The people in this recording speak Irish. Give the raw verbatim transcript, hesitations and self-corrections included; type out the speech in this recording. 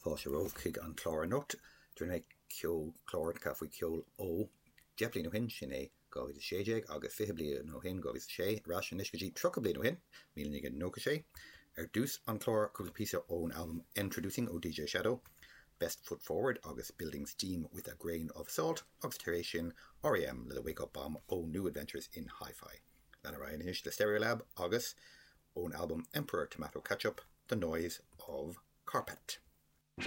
Fáilte romhaibh chuig an chlár anocht Rinne mé ceolchlár faoi ceol ó deich bliain ó shin sin é dhá mhíle sé déag agus fiche bliain ó shin dhá mhíle sé ar ais anois go dtí tríocha bliain ó shin míle naoi gcéad nócha sé ar dtús an chlár cúpla píosa ón album Introducing ó DJ Shadow Best Foot Forward agus Building Steam with a Grain of Salt agus tar éis sin REM le the Wake Up Bomb ó New Adventures in Hi-Fi. Lean ar anois le Stereolab agus ón album Emperor Tomato Ketchup, The Noise of Carpet.